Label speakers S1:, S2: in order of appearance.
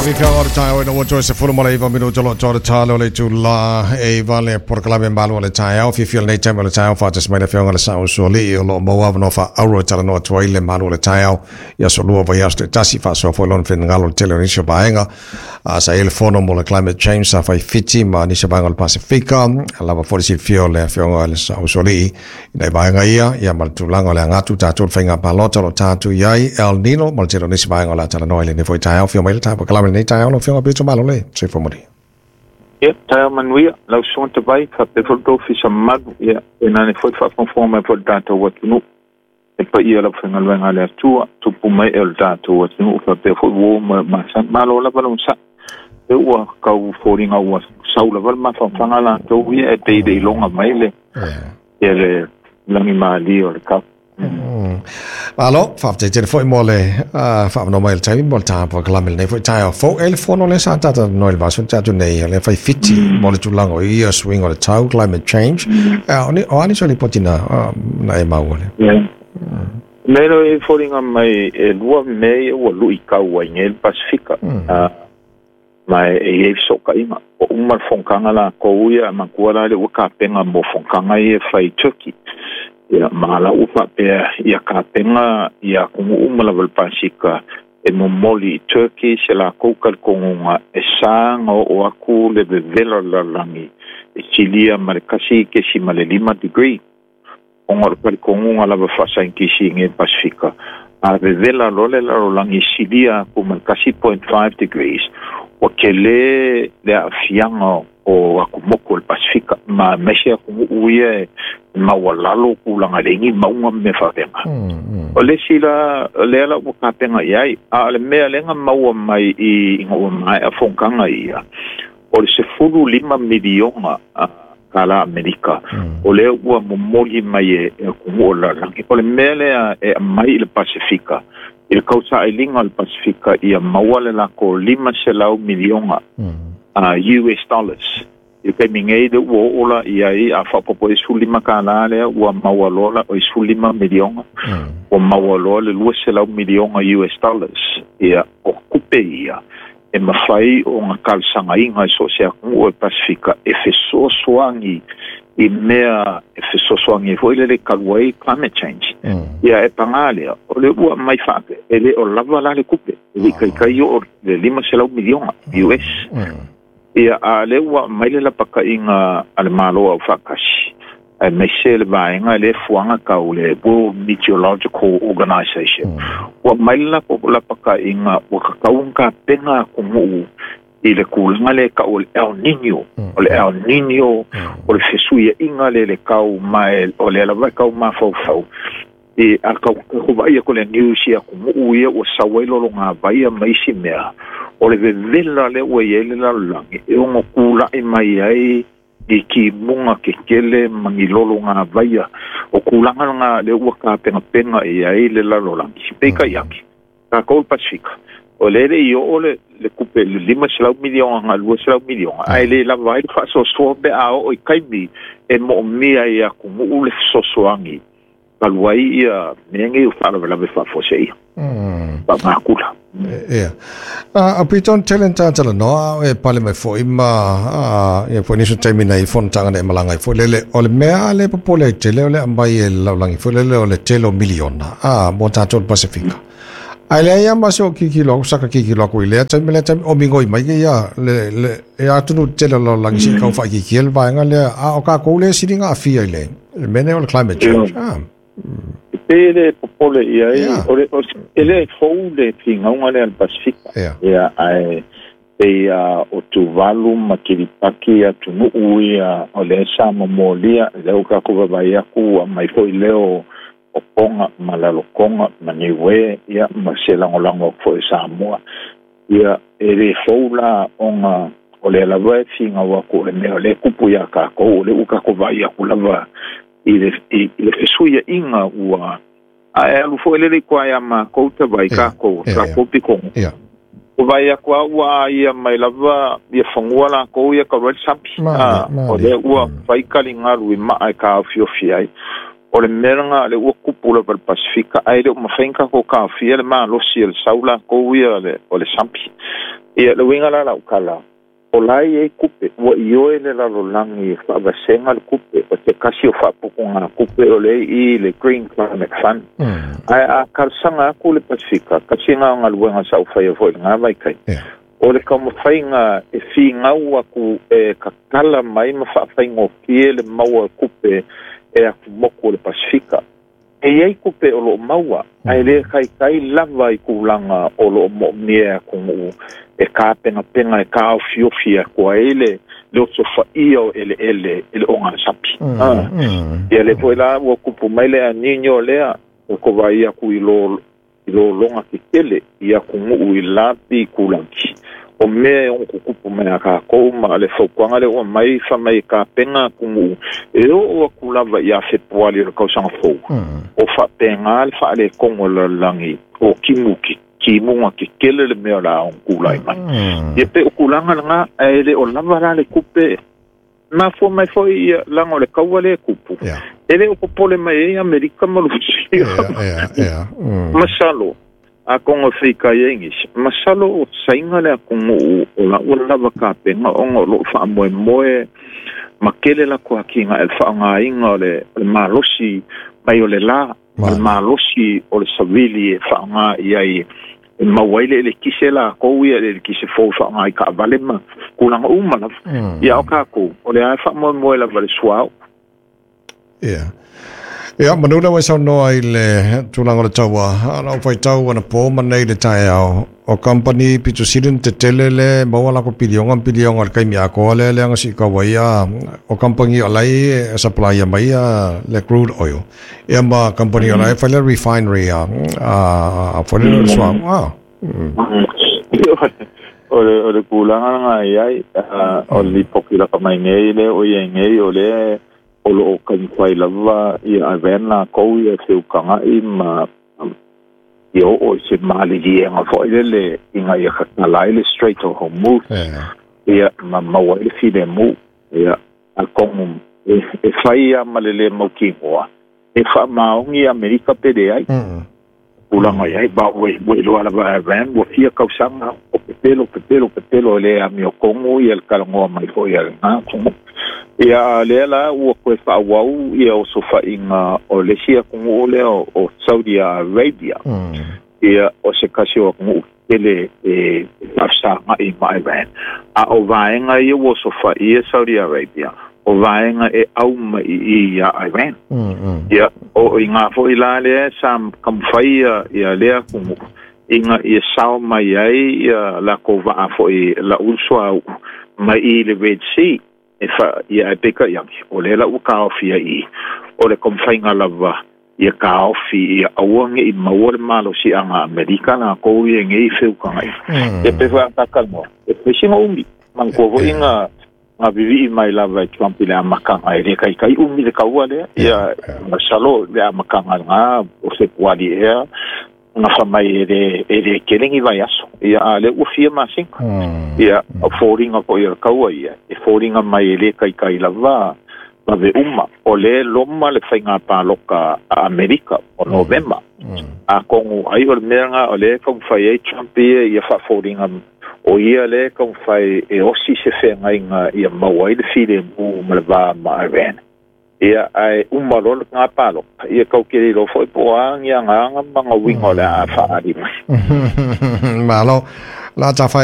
S1: Whaafifianga o le taeao ina ua toe 19 minuta lo toa le talo le itulā e iva le polokalame malu o le taeao. Fiafia lenei taimi o le taeao faatasi mai le afioga i le Sao Usoalii o lo o maua avanoa faaauuro e talanoa atu ai le malu o le taeao i aso lua vaiaso taitasi faasoa foi lona finagalo i le tele o nisi o vaega. Sa i ai le fono mo le climate change sa fai Fiti ma nisi o vaega o le Pasifika. Lava foi le silafia o le afioga i le Sao Usoalii i nai vaega ia, ia ma le tulaga o le aga atu tatou i le faiga palota o lo o tatou i ai, El Nino ma le tele o nisi vaega o le a talanoa i lenei foi taeao. Afio mai le taeao kalame i lenei taeao lau Afioga Pito Malo le soifua manuia.
S2: Ia, taeao manuia, lau susuga Tavai, faapea foi le tou ofisa mamalu, ia, fainane foi le faafogafoga mai foi i le tatou atunuu. E paia lau faigaluega a le Atua, tupu mai e o le tatou atunuu, faapea foi uo ma masani. Malo lava le onosai. E ua tau foliga ua sau lava le mafafaga latou ia e pei le iloga mai le, ia le langimalie o le kau.
S1: Malo, faafetai tele foi mo le faavanoa mai o le taimi mo le tapu kalame lenei foi taeao fou. E le fono lea sa talanoa i le vaiaso na tea atu nei, lea fai Fiti mo le tulaga o ia suiga o le tau, climate change. O a nisi o lipoti na, na e maua lea?
S2: Yeah. Me lo e foliga mai e lua mea ia ua luitau ai nei le Pasifika. Ma e i ai fesootaiga. Ua uma le fonotaga latou ia, manatua la lea ua tapena mo fonotaga ia e fai i Turkey. Ia, ma la ua faapea ia tapena ia atunuu uma lava o le Pasika e momoli i Turkey se latou talitonuga e sa ona oo atu le vevela o le lalolagi e silia ma le 1.5 degree. Ona o le talitonuga lava faasaienitisi i inei i le Pasefika, a vevela loa le lalolagi e silia atu ma le 1.5 degrees, ua tele le aafiaga o atumotu o le Pasefika, ma aemaise atunuu ia e maualalo tulaga e leai ni mauga ma mea faapena. O le isi la, lea la ua tapena i ai, a o le mea lea na maua mai ina ua maea fonotaga ia, o le 15 miliona kālā Amerika, o lea ua momoli mai e atunuu o le lalolagi. O le mea lea e aumai i le Pasefika, i le tausailiga o le Pasefika ia maua le latou 500 miliona US dollars. I le taimi nei lea ua oo la i ai, a faaopoopo i ai le 15 kālā lea ua maua loa la, oi 15 miliona, ua maua loa le 200 miliona US dollars. Ia, o tupe ia e mafai ona talosagaina e so o se atunuu o le Pasefika e fesoasoani i mea e fesoasoani ai foi lele e talu ai climate change. Ia e paga lea, o le ua aumai faape, e le o lava la le tupe, e le i taitai oo le 500 miliona US. Ia, a o lea ua aumai le lapataiga a le Malo Aufaatasi, aemaise le vaega lea e fuaga tau le World Meteorological Organization, ua aumai le lapataiga ua tatau ona tapena atunuu i le tulaga lea e tau o le El Nino. O le El Nino, o le fesuiaiga lea i le tau, ma o lea lava e tau mafaufau, e a tau vaai atu i le news i atunuu ia ua sau ai lologavaia ma isi mea, o le vevela lea ua i ai le lalolagi e ono tulai mai ai ni timuga tetele ma ni lologavaia. O tulaga lena lea ua tapenapena i ai le lalolagi. Peitai ake, tatou i le Pasefika, o lea e le i oo le tupe i le 500 miliona agai i le 200 miliona, ae le lava ai le faasoasoa pe a oo i taimi e moomia ai e atunuu le fesoasoani talu ai ia mea nei o faalavelave faafuasei faamagula.
S1: Ia. A pito on tele na talanoa a e pale mai foi ma ia foi nisi o taimi nei fonotaga na e malaga ai foi lele o le mea a le popole ai tele o le aumai e le lalolagi foi lele o le tele o miliona a mo tatou le Pasefika. Ae leai lava ma se o kikilo aku saka kikilo aku i lea taimi lea taimi o migoi mai ke ia le le e atunuu tele o le lalolagi se i tau faaitiitia le vaega lea a o kākou le sili ona aafia i le le mea nei o le climate change.
S2: E pei e le popole i ai, o le, e le fou le finauga lea a le Pasefika. Ia, ae pei a o Tuvalu ma Kiripati atunuu ia o lea sa momolia, lea ua tatou vaavaai atu ua aumai foi leo o Tonga ma Lalotonga ma Niue, ia, ma se lagolago atu foi a Samoa. Ia, e le fou la ona o lea lava e finau atu o le mea o lea e tupu iā tatou, o lea ua tatou vaai atu lava i le, i le fesuiaiga ua ae alu foi lele i tua iā matou tavai tatou, tatou pitoga. Ua vaai atu lava ua aia mai lava ia fanua latou ia talu ai le sami. O lea ua fai taligalu i maa e taofiofi ai. O le mea lagā le ua kupu lava le Pasifika ae le o mafai ona tatou taofia le malosi o le sau latou ia o le sampi. Ia le uiga la lau tala, o la e i ai tupe, ua ioe le lalolagi e faavasega le tupe, o se tasi o faaputugatupe o lea e i i le Green Climate Fund. Ae a talosaga atu le Pasifika, tasi lena o galuega sa ou faia foi i lena vaitaimi, o le taumafaiga e finau atu e tatala mai ma faafaigofie le maua o tupe e atumotu o le Pasifika. E i ai tupe o lo o maua, ae le taitai lava i tulaga o lo o moomia e atunuu e tapenapena e taofiofi atu ai le osofaia o eleele i le ogasapi. Ia lea foi la ua tupu mai le El Niño lea, ua kovai atu i lologa tetele i atunuu i lapi kulagi. O mea e ono tutupu mai a tatou ma le fautuaga lea ua mai fai mai e tapena atunuu e oo atu lava ia Fepuari o le tausaga fou. O faapena le faaletonu o le lalolagi o timu timuga tetele le mea o le a ono tulai mai. Ia pe o tulaga lena, ae le o lava la le tupe. Mafua mai foi ia laga o le kaua lea e tupu. E le o popole mai ai Amerika ma Lusia. Masalo, atonu e feitai ai nisi, masalo o Saina le atunuu o la ua lava tapena ona o lo o faamoemoe ma tele latou atinae i le faaaogaina o le malosi mai o le la, ma le malosi o le savili e faaaoga i ai e maua ai le elekise latou ia, le elekise fou e faaaoga i taavale ma tulaga uma lava. Ia o tatou, o lea e faamoemoe lava i le suauu.
S1: Ia. Ia, manu lea ua e saunoa i le tulaga o le taua, a o faitau anapo ma nei i le taeao, o kamupani pito sili ona tetele le maua latou piliona ma piliona i le taimi atoa lea leaga siitau ai ia o kamupani o la e supplya mai ia le crude oil. Ia ma kamupani o la e fai le refinery a foi le suauu.
S2: O le tulaga lena e i ai, o le lipoti laka mai nei lea o i ai nei, o lea o lo o taumafai lava ia Iran latou ia feutaga'i ma ia oo i se maliliega foi lele ina ia tatala ai le Strait of Hormuz, ia ma maua ai le filemu. Ia atonu e fai lava ma le lē mautinoa e faamaoni Amerika pe leai. Tulaga i ai, ma ua iloa lava e Iran, ua fia tausaga o pepelo, pepelo, pepelo e le amiotonu ia le talanoa mai foi a lena atunuu. Ia a o lea la ua toe faaauau ia osofaiga o le isi atunuu lea o Saudi Arabia. Ia o se tasi o atunuu tetele e faafesaga'i ma Iran. A o vaega ia ua osofaia Saudi Arabia, o vaega e au mai i i a Iran. Ia, o i inā foi la lea sa taumafai ia lea atunuu ina ia sao mai ai ia latou vaa foi lau suauu mai i le Red Sea e fa ia ae peitai ane o lea la ua taofi ai i o le taumafaiga lava ia taofi ia aua ne i maua le malosiaga a Amerika latou ia nei feutagaina. Ia pei foi a ta talanoa, e fai sina umi, manatua foi na vivii mai lava e Trump i le amataga e le taitai umi le kaua lea. Ia masalo le amataga lena o Fepuari ea na fai mai e le tele ni vaiaso. Ia a o lea ua fia masina. Ia o foliga foi o le kaua ia, e foliga mai e le taitai lava vave uma. O lea e loma le faiga paloka a Amerika o Novema. Atonu ai o le mea lena o lea e taumafai ai Trump ia ia faafoliga o ia lea e taumafai e osi se feagaiga ia maua ai le filemu ma le va ma Iran. Ia ae uma loa lena paloka, ia tau te le iloa foi po o a ni agaga ma ni uiga o le a faaali mai.
S1: Malo. La ta fai